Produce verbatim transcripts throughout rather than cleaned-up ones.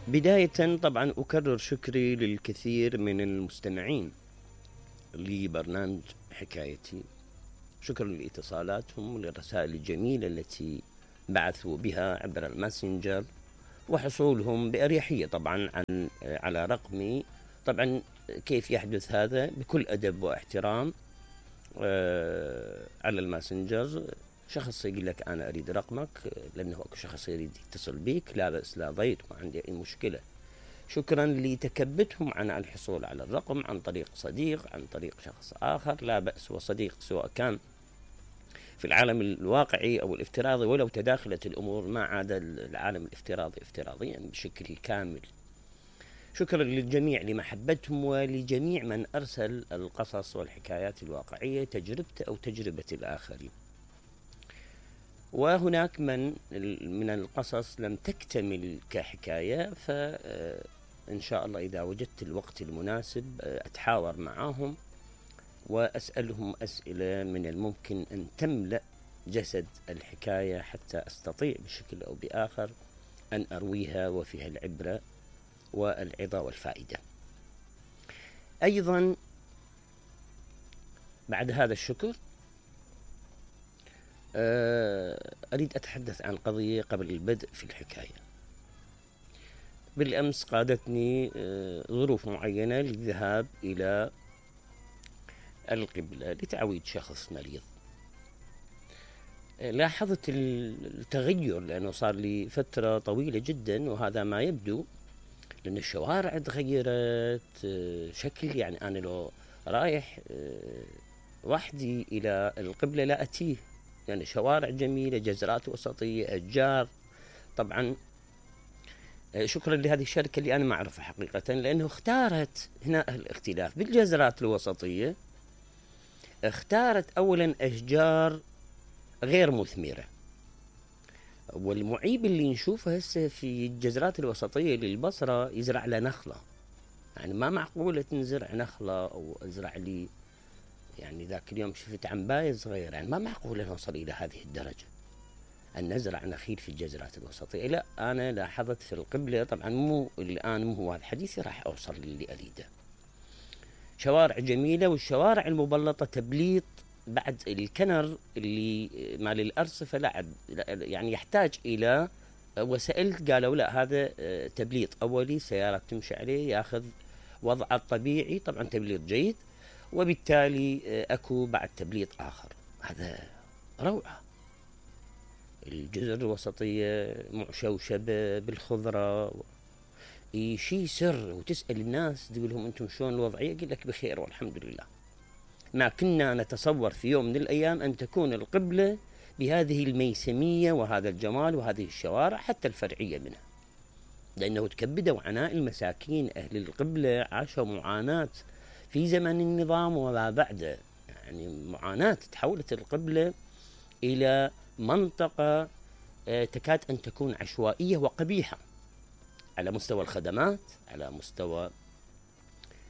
بداية طبعا أكرر شكري للكثير من المستمعين لبرنامج حكايتي، شكرا لاتصالاتهم وللرسائل الجميلة التي بعثوا بها عبر الماسنجر، وحصولهم بأريحية طبعا عن على رقمي. طبعا كيف يحدث هذا؟ بكل أدب واحترام على الماسنجر، شخص يقول لك أنا أريد رقمك، لأنه شخص يريد يتصل بيك، لا بأس لا ضير، ما عندي أي مشكلة. شكرا لتكبتهم عن الحصول على الرقم عن طريق صديق، عن طريق شخص آخر، لا بأس، وصديق سواء كان في العالم الواقعي أو الافتراضي، ولو تداخلت الأمور ما عاد العالم الافتراضي افتراضيا بشكل كامل. شكرا للجميع لمحبتهم، ولجميع من أرسل القصص والحكايات الواقعية تجربته أو تجربة الآخرين. وهناك من من القصص لم تكتمل كحكاية، فإن شاء الله إذا وجدت الوقت المناسب أتحاور معهم وأسألهم أسئلة من الممكن أن تملأ جسد الحكاية، حتى أستطيع بشكل أو بآخر أن أرويها وفيها العبرة والعظة والفائدة. أيضا بعد هذا الشكر أريد أتحدث عن قضية قبل البدء في الحكاية. بالأمس قادتني ظروف معينة للذهاب إلى القبلة لتعويد شخص مريض. لاحظت التغير لأنه صار لي فترة طويلة جدا وهذا ما يبدو، لأن الشوارع تغيرت شكل. يعني أنا لو رايح وحدي إلى القبلة لا أتيه، يعني شوارع جميلة، جزرات وسطية، أشجار. طبعا شكرا لهذه الشركة اللي أنا ما أعرفها حقيقة، لأنه اختارت هنا الاختلاف بالجزرات الوسطية، اختارت أولا أشجار غير مثمرة. والمعيب اللي نشوفه هسه في الجزرات الوسطية للبصرة يزرع له نخلة، يعني ما معقولة تنزرع نخلة أو أزرع لي، يعني ذاك اليوم شفت عنباية صغيرة، يعني ما معقولة نوصل إلى هذه الدرجة أن نزرع نخيل في الجزرات الوسطية. لا، أنا لاحظت في القبلة، طبعا مو الآن مو هو هذا حديثي، راح أوصل للي أريده. شوارع جميلة، والشوارع المبلطة تبليط بعد الكنر اللي مال الأرصفة لا يعني يحتاج إلى، وسألت قالوا لا هذا تبليط أولي، سيارات تمشي عليه ياخذ وضعه الطبيعي، طبعا تبليط جيد، وبالتالي أكو بعد تبليط آخر. هذا روعة. الجزر الوسطية مشوشبة بالخضرة، شيء سر. وتسأل الناس تقول لهم أنتم شلون الوضعية؟ يقول لك بخير والحمد لله. ما كنا نتصور في يوم من الأيام أن تكون القبلة بهذه الميسمية وهذا الجمال وهذه الشوارع حتى الفرعية منها، لأنه تكبدوا عناء المساكين. أهل القبلة عاشوا معاناة في زمن النظام وما بعده، يعني معاناة. تحولت القبلة إلى منطقة تكاد أن تكون عشوائية وقبيحة على مستوى الخدمات، على مستوى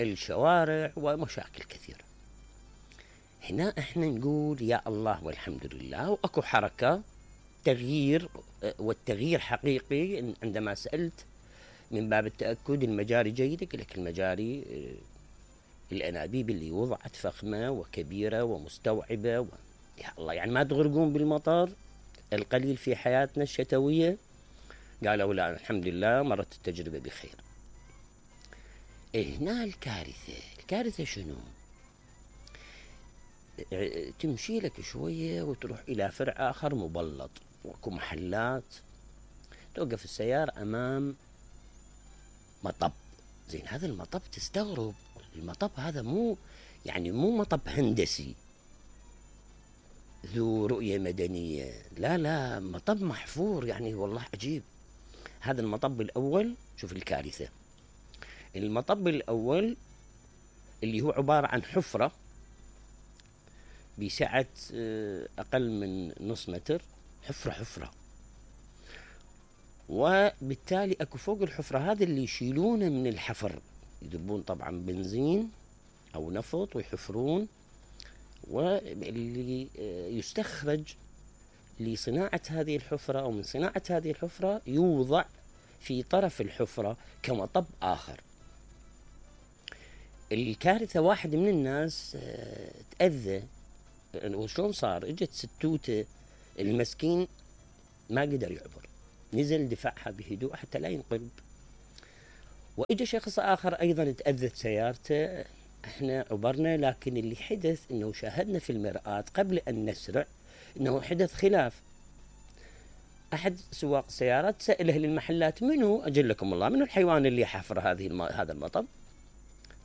الشوارع، ومشاكل كثيرة. هنا احنا نقول يا الله والحمد لله، واكو حركة تغيير، والتغيير حقيقي. عندما سألت من باب التأكد المجاري جيدة، قال لك المجاري الأنابيب اللي وضعت فخمة وكبيرة ومستوعبة و... يا الله، يعني ما تغرقون بالمطر القليل في حياتنا الشتوية؟ قالوا لا الحمد لله مرت التجربة بخير. هنا الكارثة. الكارثة شنو؟ تمشي لك شوية وتروح إلى فرع آخر مبلط، وكو محلات، توقف السيارة أمام مطب. زين، هذا المطب تستغرب، المطب هذا مو يعني مو مطب هندسي ذو رؤية مدنية، لا لا، مطب محفور، يعني والله عجيب. هذا المطب الأول، شوف الكارثة. المطب الأول اللي هو عبارة عن حفرة بسعة أقل من نص متر، حفرة حفرة، وبالتالي أكو فوق الحفرة هذا اللي يشيلونه من الحفر، يذبون طبعا بنزين أو نفط ويحفرون، واللي يستخرج لصناعة هذه الحفرة أو من صناعة هذه الحفرة يوضع في طرف الحفرة كمطب آخر. الكارثة واحد من الناس تأذى، وشلون صار؟ اجت ستوته المسكين ما قدر يعبر، نزل دفعها بهدوء حتى لا ينقلب. واجى شخص آخر أيضا تأذت سيارته، احنا عبرنا، لكن اللي حدث انه شاهدنا في المرآة قبل ان نسرع انه حدث خلاف. احد سواق السيارات سأل اهل المحلات منو اجلكم الله منو الحيوان اللي حفر هذه الم... هذا المطب؟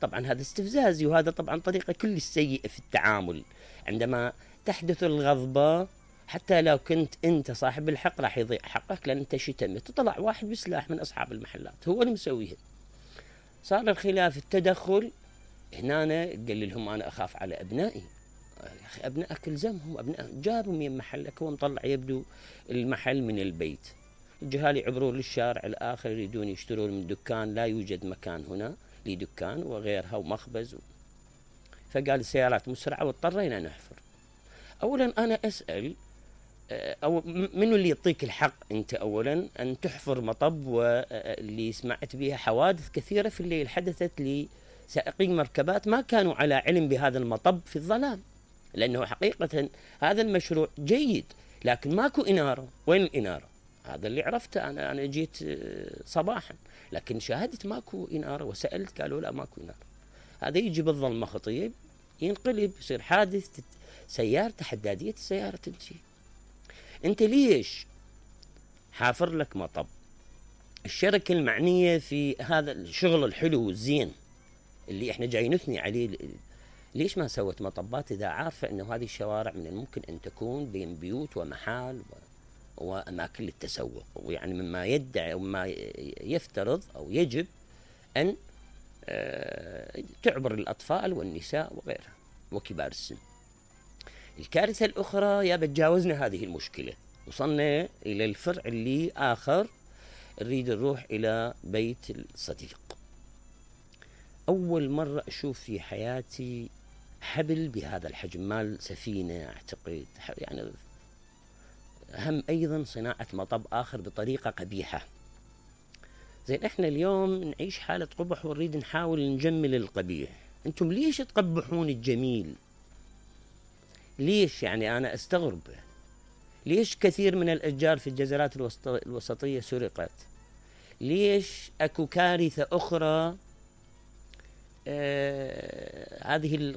طبعا هذا استفزازي، وهذا طبعا طريقة كل سيئة في التعامل. عندما تحدث الغضبة حتى لو كنت انت صاحب الحق راح يضيع حقك، لان انت شتمت. طلع واحد بسلاح من اصحاب المحلات هو اللي مسويها. صار الخلاف، التدخل هنا قال لهم انا اخاف على ابنائي. يا اخي ابنائك الزمهم، ابنائك جابوا من محلك، هو مطلع يبدو المحل من البيت. الجهال يعبرون للشارع الاخر يريدون يشترون من دكان، لا يوجد مكان هنا لدكان وغيرها ومخبز و... فقال السيارات مسرعه واضطرينا نحفر. اولا انا اسال أو منو اللي يعطيك الحق انت اولا ان تحفر مطب؟ واللي سمعت بها حوادث كثيره في الليل حدثت لسائقين مركبات ما كانوا على علم بهذا المطب في الظلام، لانه حقيقه هذا المشروع جيد لكن ماكو اناره. وين الاناره؟ هذا اللي عرفته انا انا جيت صباحا لكن شاهدت ماكو اناره، وسالت قالوا لا ماكو اناره. هذا يجي بالظلمه خطيب ينقلب يصير حادث، سيارته حداديه السياره تنتهي. انت ليش حافر لك مطب؟ الشركة المعنية في هذا الشغل الحلو والزين اللي احنا جاي نثني عليه، ليش ما سوت مطبات اذا عارفة انه هذه الشوارع من الممكن ان تكون بين بيوت ومحال واماكن للتسوق، ويعني مما يدعي وما يفترض او يجب ان تعبر الاطفال والنساء وغيرها وكبار السن. الكارثة الأخرى يا بتجاوزنا هذه المشكلة، وصلنا إلى الفرع اللي آخر، نريد نروح إلى بيت الصديق. أول مرة أشوف في حياتي حبل بهذا الحجم، مال سفينة أعتقد، يعني هم أيضا صناعة مطب آخر بطريقة قبيحة. زين إحنا اليوم نعيش حالة قبح ونريد نحاول نجمل القبيح، أنتم ليش تقبحون الجميل؟ ليش؟ يعني أنا أستغرب ليش كثير من الأشجار في الجزرات الوسطية سرقت؟ ليش أكو كارثة أخرى؟ آه هذه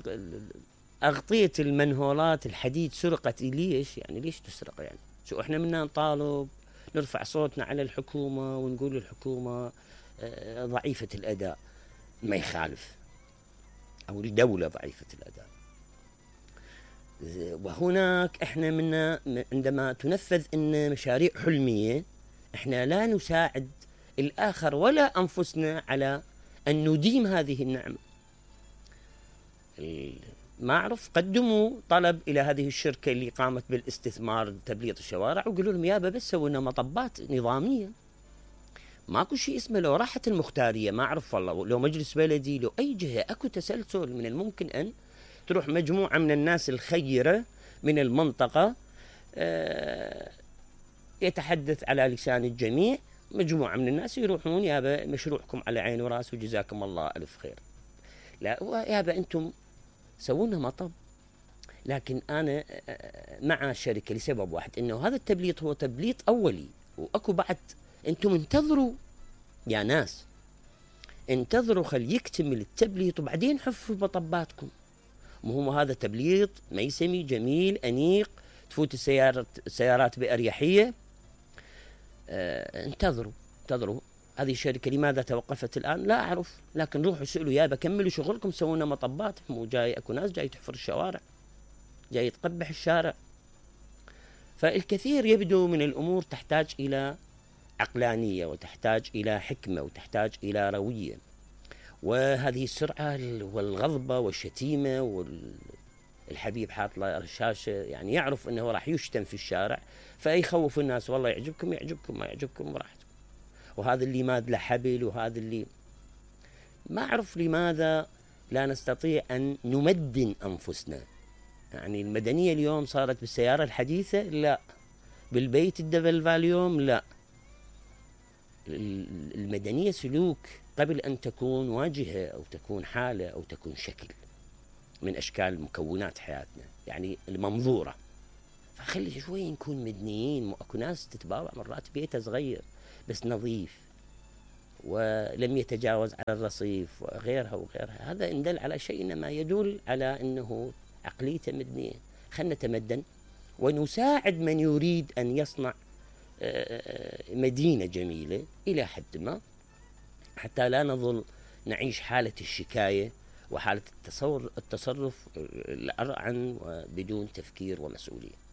أغطية المنهولات الحديد سرقت. ليش؟ يعني ليش تسرق؟ يعني شو إحنا منا نطالب نرفع صوتنا على الحكومة ونقول الحكومة آه ضعيفة الأداء؟ ما يخالف، أو الدولة ضعيفة الأداء. وهناك احنا منا عندما تنفذ ان مشاريع حلمية احنا لا نساعد الاخر ولا انفسنا على ان نديم هذه النعمة. ما اعرف قدموا طلب الى هذه الشركة اللي قامت بالاستثمار تبليط الشوارع وقالوا لهم يابا بس سووا لنا مطبات نظامية. ماكو شيء اسمه لو راحت المختارية، ما اعرف والله، لو مجلس بلدي، لو اي جهة، اكو تسلسل. من الممكن ان تروح مجموعة من الناس الخيرة من المنطقة يتحدث على لسان الجميع، مجموعة من الناس يروحون يابا مشروعكم على عين وراس وجزاكم الله ألف خير. لا يابا أنتم سوونا مطب، لكن أنا مع الشركة لسبب واحد، إنه هذا التبليط هو تبليط أولي، وأكو بعد أنتم انتظروا يا ناس، انتظروا خل يكتمل التبليط وبعدين حفوا مطباتكم. مو هذا تبليط ميسمي جميل أنيق تفوت السيارات السيارات بأريحية. اه انتظروا انتظروا هذه الشركة لماذا توقفت الآن؟ لا أعرف، لكن روحوا سألوا يابا كملوا شغلكم، سوونا مطبات. مو جاي أكو ناس جاي تحفر الشوارع، جاي تقبح الشارع. فالكثير يبدو من الأمور تحتاج إلى عقلانية وتحتاج إلى حكمة وتحتاج إلى روية. وهذه السرعة والغضبة والشتيمة والحبيب حاط له الشاشة، يعني يعرف أنه راح يشتم في الشارع فيخوف الناس، والله يعجبكم يعجبكم ما يعجبكم براحتكم. وهذا اللي ماد له حبل، وهذا اللي ما أعرف لماذا لا نستطيع أن نمدن أنفسنا. يعني المدنية اليوم صارت بالسيارة الحديثة لا، بالبيت الدبل فاليوم لا، المدنية سلوك قبل أن تكون واجهة أو تكون حالة أو تكون شكل من أشكال مكونات حياتنا، يعني المنظورة. فخلي شوي نكون مدنيين. اكو ناس تتباوع مرات بيته صغير بس نظيف ولم يتجاوز على الرصيف وغيرها وغيرها، هذا إن دل على شيء إنما يدل على أنه عقليته مدنية. خلنا نتمدن ونساعد من يريد أن يصنع مدينة جميلة إلى حد ما، حتى لا نظل نعيش حالة الشكاية وحالة التصور التصرف الأرعن وبدون تفكير ومسؤولية.